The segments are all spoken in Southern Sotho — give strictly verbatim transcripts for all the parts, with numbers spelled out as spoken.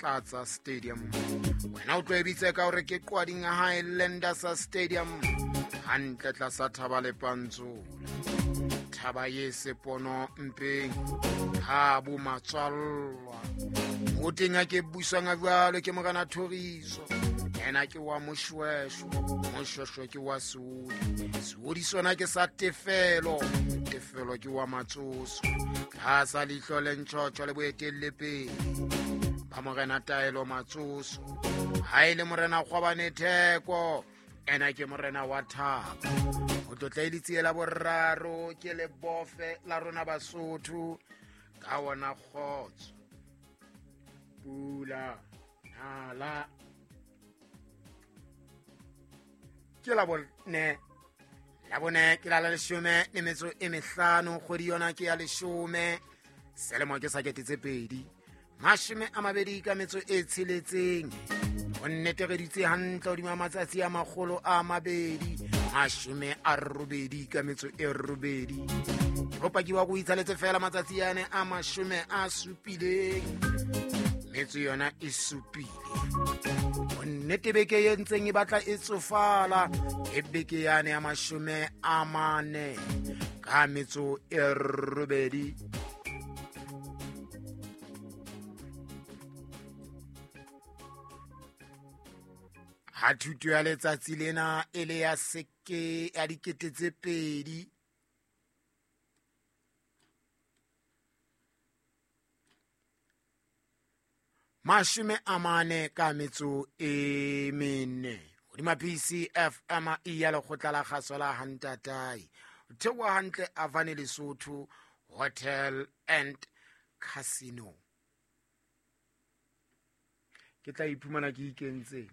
Tlatsa Stadium. Wena o tlo e bitse ka hore ke Qwading Highlanders Stadium, hantle tlasa thaba le Pantsola, thaba ye sepono mpeng ha bo matswallwa. O teng a ke buswang a jwalo ke morena Thoriso, ena ke wa Moshweshwe, Moshweshwe ke wa Seodi, Seodi sona ke sa Tefelo, Tefelo ke wa Matsoso, tlasa leihlo le ntjhotjho le boetelle pele ba morena Taelo Matsoso. Ha e le morena Kgwabane Theko, ena ke morena wa Thabo. Ho tlotla e letsie la boraro ke lebofe la rona Basotho ka wona kgotso, pula, nala. Ke la bone, la bone ke la la leshome le metso e mehlano, kgwedi yona ke ya leshome, selemo ke sa kete tse pedi mashome a mabedi ka metso e tsheletseng. Ho nnetegeditse hantle hodima matsatsi a makgolo a mabedi mashome a robedi ka metso e robedi. Bopaki wa go itshaletse fela matsatsi ane a mashome a supileng, metso yona e supile. Nnete beke e ntseng e batla e tsofala ke beke yane ya mashome a mane ka metso e robedi. Ha thuto ya letsatsi lena e le ya seke ya dikete tse pedi mashome a mane ka metso e mene hodima P C F M e ya lekgotla la kgaso la Hantatai. Theoha hantle Avane Lesotho Hotel and Casino. Ke tla iphumana ke ikentseng,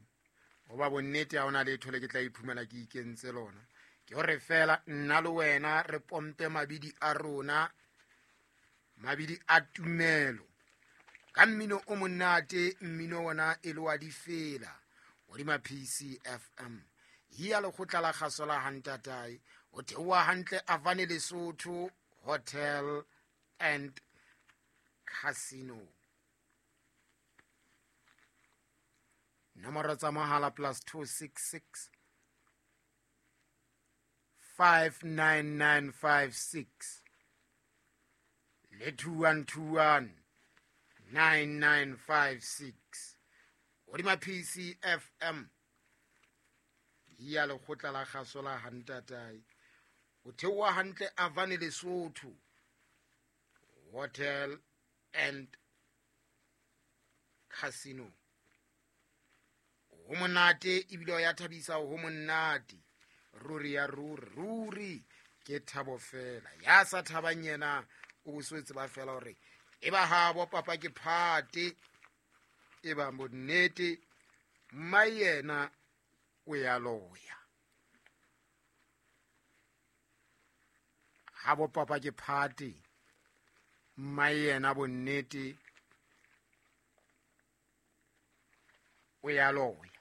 hoba bonnete ha hona letho le ke tla iphumana ke ikentse lona. Ke hore fela nna le wena re pompe mabidi a rona, mabidi a tumelo ka mmino o monate, mmino wona e le wa difela hodima P C F M ya lekgotla la kgaso la Hantatai. O theoha hantle Avane Lesotho Hotel and Casino. Nomoro tsa mohala plus two six six five nine nine five six le two one two one nine nine five six hodima P C F M ya lekgotla la kgaso la Hantatai. O theoha hantle Avane Lesotho Hotel and Casino. Ho monate ebile ya thabisa, ho monate ruri ya ruri ruri ke thabo fela. Ya sa thabang yena o boswetse ba fela hore e ba habo papa ke phate, e ba bonnete mma yena o ya loya. Habo papa ke phate, mma yena bonnete o ya loya.